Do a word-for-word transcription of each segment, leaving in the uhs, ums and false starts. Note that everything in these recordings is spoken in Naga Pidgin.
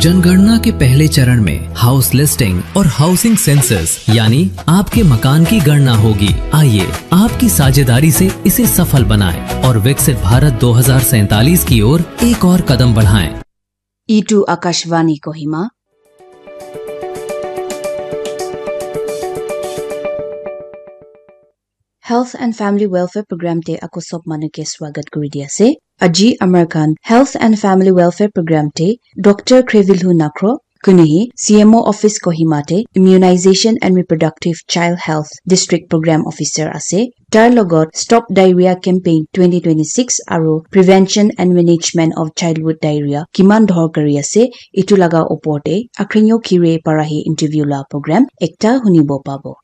जनगणना के पहले चरण में हाउस लिस्टिंग और हाउसिंग सेंसस यानी आपके मकान की गणना होगी। आइए, आपकी साझेदारी से इसे सफल बनाएं और विकसित भारत दो हज़ार सैंतालीस की ओर एक और कदम बढ़ाएं। Itu Akashvani Kohima. Health and Family Welfare Program te ako sob manu ke swagat kuri di ase. Aji amar khan Health and Family Welfare Program te Doctor Krevilhu Nakro, kunu hi C M O Office Kohima te Immunization and Reproductive Child Health District Program Officer ase. Tar logot Stop Diarrhea Campaign twenty twenty-six aru Prevention and Management of Childhood Diarrhea kiman dorkari ase, itu laga opor te Akrinyo Kire para hi interview la program ekta hunibo pabo.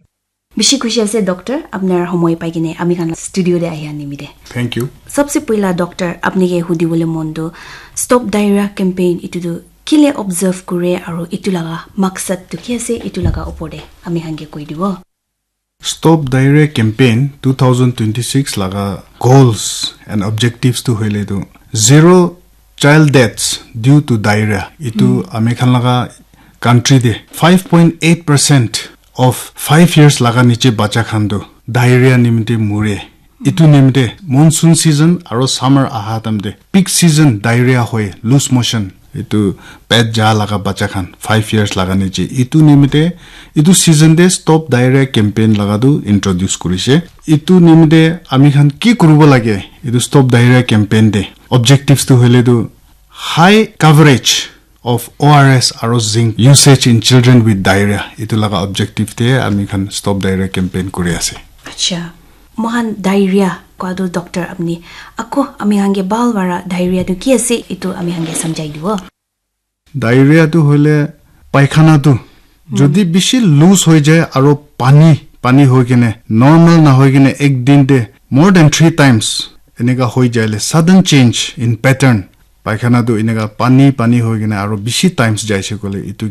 Bishi khushi ase, Doctor, apnar homoi pai kene ami khan la studio te ahi nimite. Thank you. Sabse pehla, Doctor, apni ke hudi bole mon tu, Stop Diarrhea Campaign itu tu kile observe kure aru itu laga maksad tu ki ase, itu laga opor te ami khan ke koi dibo. Stop Diarrhea Campaign two thousand twenty-six laga goals and objectives tu hoile tu zero child deaths due to diarrhea. Itu ami khan laga country te five point eight percent of five years laga niche bacha khan tu diarrhea nimite mure. Itu nimite monsoon season aro summer aha time te peak season diarrhea hoi, loose motion, itu pet ja laga bacha khan five years laga niche. Itu nimite, itu season te Stop Diarrhea Campaign laga tu introduce kurise. Itu nimite ami khan ki kuribo lage? Itu Stop Diarrhea Campaign te objectives tu hoile tu high coverage of O R S aro zinc usage in children with diarrhea. Itu laga objective te ami khan Stop Diarrhea Campaign kuri ase. Acha, mohan diarrhea koa tu, Doctor, apni ako ami khan ke bhal para diarrhea tu ki ase, itu ami khan ke samjhai dibo. Diarrhea tu hoile paikhana tu jodi bishi loose hoi jai aro pani, pani hoi kene, normal na hoi kene ek din te more than three times eneka hoi jaile, sudden change in pattern, paikhana tu eneka pani pani hoi kene aro bishi times jaise koile, itu